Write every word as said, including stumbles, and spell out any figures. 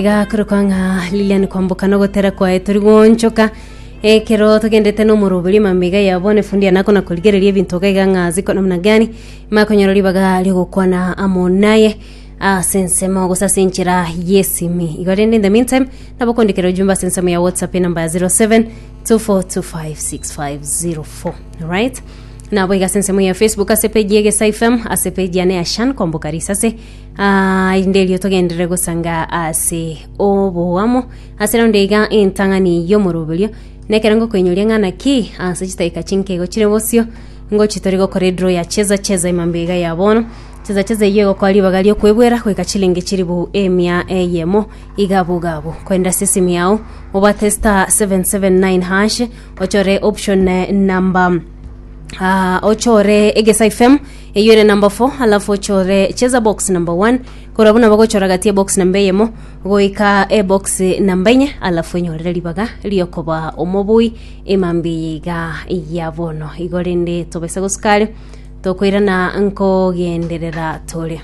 Iga korokwa ng'a Lilian Kwamboka nogotera kwaye tori goonchoka ekero togendete na omoroberi mambega ya bono efundi anako na korigereria ebinto iga iga ng'a ziko namna gani makonyora ribaga riogokwana amo naye ase ensemo gose ase enchera y'esimi igo rende in the meantime nabo okondikera ojumbe ase ensemo ya whatsapp enamba ya zero seven two four two five six five zero four alright nabo iga ase ensemo ya facebook ase page ya Egesa F M ase page yane ya Shan Kwamboka Risase ah, inde erio togenderere gosanga ase oboamo ase raundi iga entang'ani y'omoroberio nekero ngokoinyoria ng'a naki ase chidakika chinke igo chire bosio ngochi tori gokora edraw ya cheza cheza emambia iga ya bono cheza cheza eyio egokoa ribaga riokwebwera goika chilingi chiribu emia eyemo iga abwo iga abwo koenda ase esimi yao obate star seven seven nine hash ochore option eh, number Ah, ochore Egesa F M eyio ere number four alafu ochore cheza box number one korwa buna bagochora gati ebox namba eyemo goika ebox namba enye alafu enyorere ribaga riokoba omobui emambia eye iga ya bono igo rende tobese gosukare tokoirana nkogenderera tore.